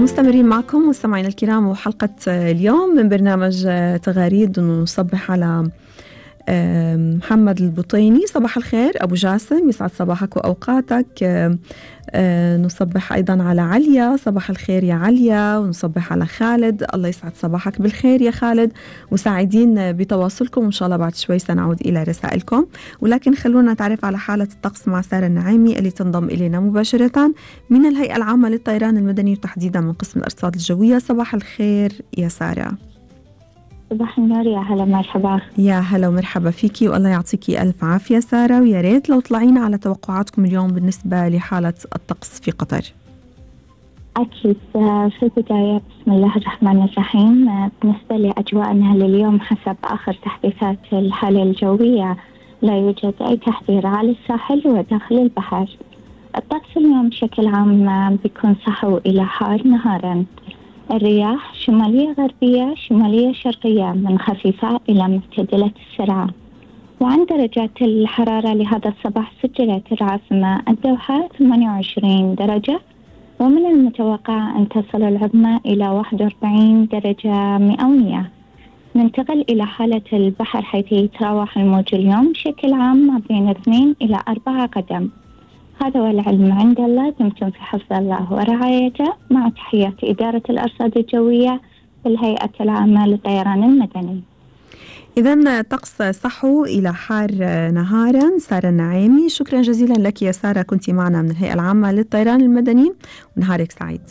ومستمرين معكم مستمعينا الكرام وحلقة اليوم من برنامج تغاريد. نصبح على محمد البطيني. صباح الخير أبو جاسم، يسعد صباحك وأوقاتك. نصبح أيضا على عليا، صباح الخير يا عليا. ونصبح على خالد، الله يسعد صباحك بالخير يا خالد. وسعيدين بتواصلكم، وإن شاء الله بعد شوي سنعود إلى رسائلكم، ولكن خلونا نتعرف على حالة الطقس مع سارة النعيمي اللي تنضم إلينا مباشرة من الهيئة العامة للطيران المدني وتحديدا من قسم الأرصاد الجوية. صباح الخير يا سارة. صباح النور، يا هلا مرحبا. يا هلا ومرحبا فيكي، والله يعطيكي ألف عافية سارة. ويا ريت لو طلعينا على توقعاتكم اليوم بالنسبة لحالة الطقس في قطر. أكيد. في البداية بسم الله الرحمن الرحيم. بالنسبة لأجواءنا لليوم حسب آخر تحديثات الحالة الجوية لا يوجد أي تحذير على الساحل وداخل البحر. الطقس اليوم بشكل عام بيكون صحو إلى حار نهارا. الرياح شمالية غربية شمالية شرقية من خفيفة إلى معتدلة السرعة. وعن درجات الحرارة لهذا الصباح سجلت العاصمة الدوحة 28 درجة، ومن المتوقع أن تصل العظمى إلى 41 درجة مئوية. ننتقل إلى حالة البحر حيث يتراوح الموج اليوم بشكل عام ما بين 2 إلى 4 قدم. هذا والعلم عند الله، دمتم في حفظ الله ورعايته، مع تحيات إدارة الأرصاد الجوية بالهيئة العامة للطيران المدني. إذن طقس صحو إلى حار نهارا. سارة النعيمي، شكرا جزيلا لك يا سارة، كنت معنا من الهيئة العامة للطيران المدني، ونهارك سعيد.